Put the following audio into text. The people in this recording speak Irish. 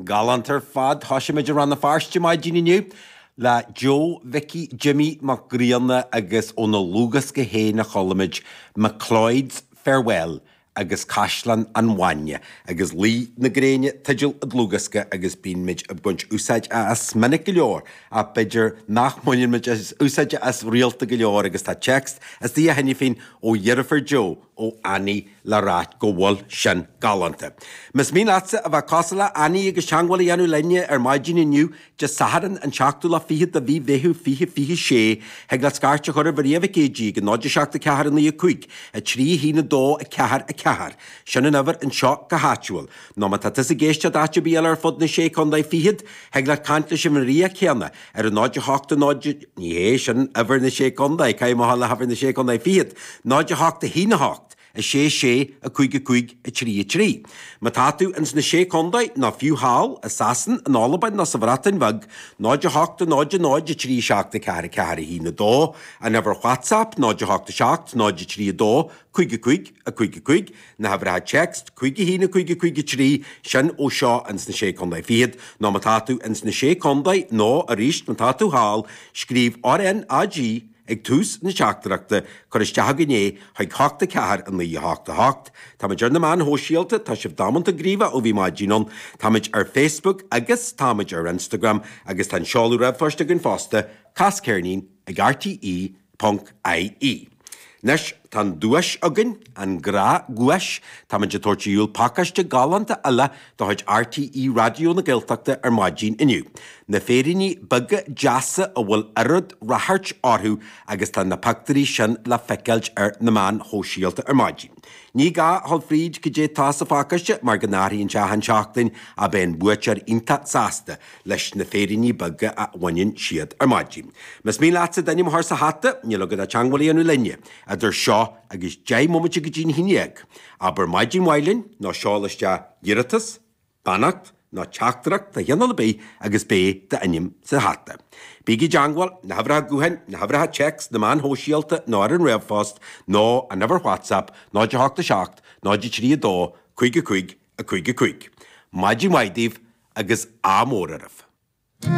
Galánta ar fad. Thoisigh muid i Rann na Feirste maidin inniu le Joe Mhicí Jimmy Mac Grianna agus óna dhlúthdhiosca féin a chuala muid McLeod's Farewell agus Caisleán an Bhainne agus Luí na Gréine teideal an dlúthdhiosca agus bíonn muid ag baint úsáid as minic go leor ach b'fhéidir nach mbaineann muid úsáid as rialta go leor agus tá téacs istigh cheana féin ó dheirfiúr Joe ó Annie le ráit go bhfuil sin galánta. Más mian leatsa a bheith cosúil le Annie agus teangmháil a dhéanamh linne ar maidin inniu, Dé Sathairn an seachtú lá fichead de mhí Mheithimh 2026, thig leat scairt a chur ar Mharia Mhic Géidigh ag 0 7 4 9 5 3 1 2 4 4. Sin an uimhir anseo go háitiúil. Nó má tá tusa ag éisteacht áit ar bith eile ar fud na Sé Chontae Fichead, thig leat caint leis an Mharia céanna ar 0 8 0, ní hé, sin uimhir na Sé Chontae, caithfidh mé a dhul le huimhir na Sé Chontae Fichead, 0 8 1 8 6 6 5 5 3 3. Má tá tú ins na Sé Chontae, nó fiú thall, i Sasain, in Albain nó sa Bhreatain Bheag, 0 8 0 0 3 7 4 4 1 2, an uimhir WhatsApp, 0 8 7 0 3 2 5 5 5 5, na huimhreacha téacs, 5 1 5 5 3, sin ó seo ins na Sé Contae Fichead, nó má tá tú ins na Sé Contae, nó arís má tá tú thall, scríobh RNAG ag tús na teachtaireachta, cuir isteach againn é chuig 8 4 9 8 8. Táimid ar na meáin shóisialta, tá sibh damanta gníomhach ó bhí maidin ann. Táimid ar Facebook agus táimid ar Instagram agus tá an seoladh ríomhphoist againn fosta, casceirnín ag rte. Ponc IE. Anois, tá an duais againn, an gnáthdhuais. Táimid ag tabhairt ar shiúl pacáiste galánta eile de chuid RTÉ Raidió na Gaeltachta ar maidin inniu. Na féiríní beaga deasa a bhfuil oiread ráchairt orthu agus tá na pictiúirí sin le feiceáilt ar na meáin shóisialta ar maidin. Ní gá a dhul fríd cad é tá sa phacáiste mar go n-athraíonn sé achan seachtain ach beidh an buaiteoir iontach sásta leis na féiríní beaga a bhaineann siad ar maidin. Más mian leatsa d'ainm a chur sa hata, níl agat ach teangmháil a dhéanamh linne idir seo agus 10 mbomaite go dtí'n 11. Abair maidin mhaith linn nó seol isteach iarratas, beannacht nó teachtaireacht de chineál ar bith agus beidh d'ainm sa hata. Bígí i dteangmháil, na huimhreacha gutháin, na huimhreacha téacs, na meáin shóisialta nó ar an ríomhphost nó an uimhir WhatsApp 0 8 7 0 3 2 5 5 5 5. Maidin mhaith daoibh agus ádh mór oraibh.